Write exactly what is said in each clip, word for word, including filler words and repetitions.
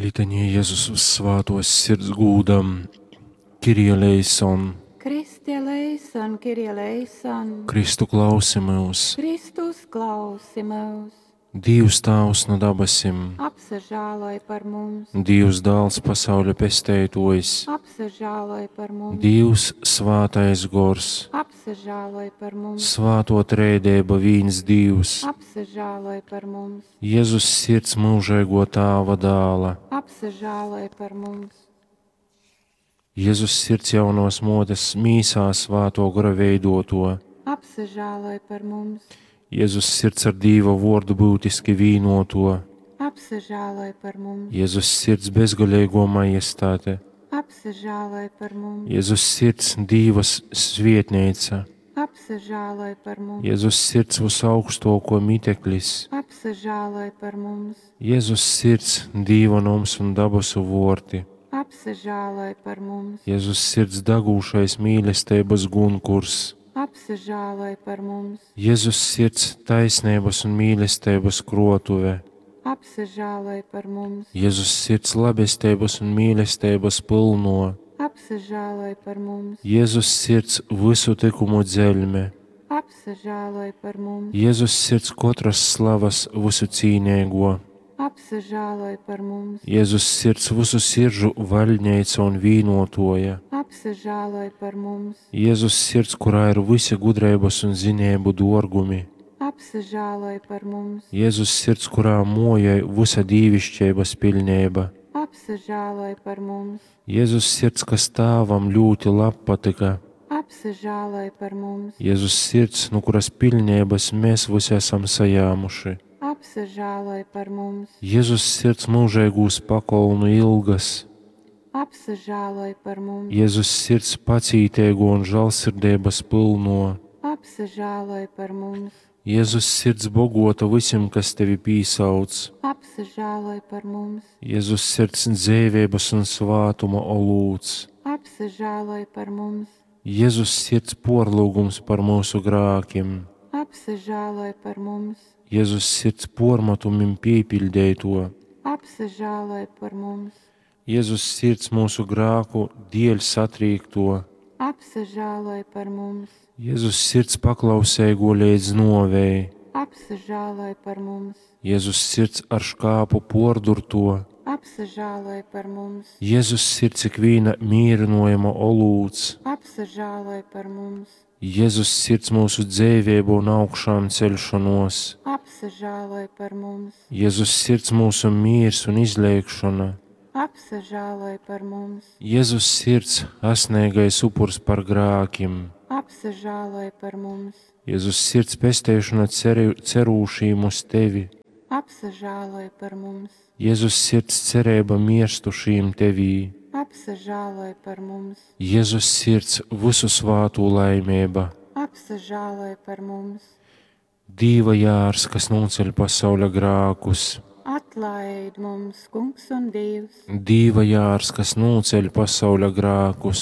Litanija Jezus svātuos sirds gūdam, Kirie eleison, Kristi eleison, Kirie eleison, Kristu klausi myus, Kristus klausi myus, Dīvs Tāvs nu dabasim, apsažāloj par mums, Dīvs Dāls pasauļa pesteituojs, apsažāloj par mums, Dīvs Svātais Gors, apsažāloj par mums, Svātuo Treideiba vīns Dīvs, apsažāloj par mums, Jezus sirds myužeiguo Tāva dāla, apsažāloj par mums, Jezus sirds jaunos motes mīsā svāto gora veidoto, apsažāloj par mums, Jezus sirds ar Dīva vuordu būtiski vīnoto, apsažāloj par mums, Jezus sirds bezgalīgo majestāte, apsažāloj par mums, Jezus sirds Dīva svietneica, apsažāloj par mums, Jezus sirds visaugstoko miteklis, apsažāloj par mums, Jezus sirds Dīva noms un dabasu vorti, apsažāloj par mums, Jezus sirds dagūšais mīlestības gunkurs, apsažāloj par mums, Jezus sirds taisnības un mīlestības krotuve, apsažāloj par mums, Jezus sirds labestības un mīlestības pilno, apsažāloj par mums, Jezus sirds visu tikumu dzeļme, apsažāloj par mums, Jezus sirds katras slavas visu cīnīgo, apsažāloj par mums, Jezus sirds visu siržu vaļņeica un vīnotoja, apsažāloj par mums, Jezus sirds, kurā ir visi gudrības un zinību dorgumi, apsažāloj par mums, Jezus sirds, kurā mojai visa dīvišķības pilnība, apsažāloj par mums, Jezus sirds, kas tāvam ļoti labpatika, apsažāloj par mums, Jezus sirds, no kuras pilnības mēs visi esam sajāmuši. Apsažāloj par mums, Jezus sirds mūžīgūs pakolnu ilgas, apsažāloj par mums, Jezus sirds pacītēgo un žēlsirdības pilno, apsažāloj par mums, Jezus sirds bogota visiem, kas tevi pīsauc, apsažāloj par mums, Jezus sirds dzīvības un svātuma olūts, apsažāloj par mums, Jezus sirds porlūgums par mūsu grākiem, apsažāloj par mums, Jezus sirds pormatumim piepildēto, apsažāloj par mums, Jezus sirds mūsu grāku dēļ satrīkto, apsažāloj par mums, Jezus sirds paklausēgo līdz novei, apsažāloj par mums, Jezus sirds ar škāpu pordurto, apsažāloj par mums, Jezus sirds ikviena mīrinojama olūts, apsažāloj par mums, Jezus sirds mūsu dzīvību un augšām celšanos, apsažāloj par mums, Jezus sirds mūsu mīrs un izlēkšana, apsažāloj par mums, Jezus sirds asnīgais upurs par grākiem, apsažāloj par mums, Jezus sirds pesteišana ceri, cerūšīm uz tevi, apsažāloj par mums, Jezus sirds cerība mirstušīm tevī, apsažāloj par mums, Jezus sirds visu svātu laimība, apsažāloj par mums, Dīva jārs, kas noceļ pasauļa grākus, atlaid mums, Kungs un Dievs, Dīva jārs, kas noceļ pasauļa grākus,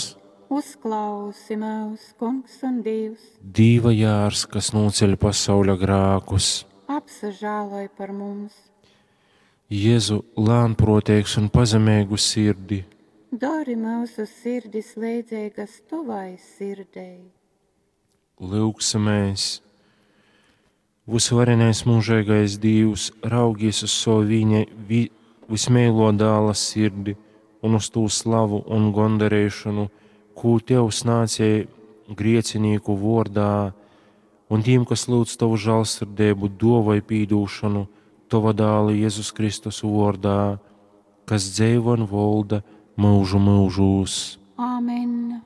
uzklausi mūs, Kungs un Dievs, Dīva jārs, kas noceļ pasauļa grākus, apsažāloj par mums, Jēzu lēnprotīgs un pazemīgu sirdi, dari mūsu sirdis līdzīgas tavai sirdei. Lūksimies! Visvarenais mūžīgais Dievs, raugies uz savu viņa vi, vismīlo dāla sirdi un uz tū slavu un gondarēšanu, kū Tev snācēja griecinīku vordā, un tiem, kas lūdz Tavu žālsirdību, dovai pīdūšanu, Tava dāla Jēzus Kristus vordā, kas dzeivo un volda mūžu mūžūs. Āmen!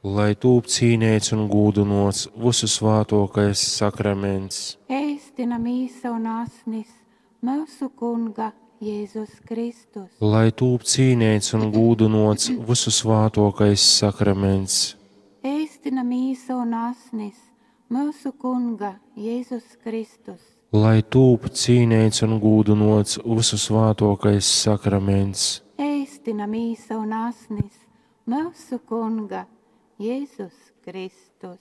Lai tūp cīnēts un gūdinots visu svātokais sakraments. Eistina mīsa un asnis mūsu Kunga Jēzus Kristus. Lai tūp cīnēts un gūdinots visu svātokais sakraments. Eistina mīsa un asnis mūsu Kunga Jēzus Kristus. Lai tūp cīnēts un gūdinots visu svātokais sakraments. Eistina mīsa un asnis mūsu Kunga Jēzus Kristus.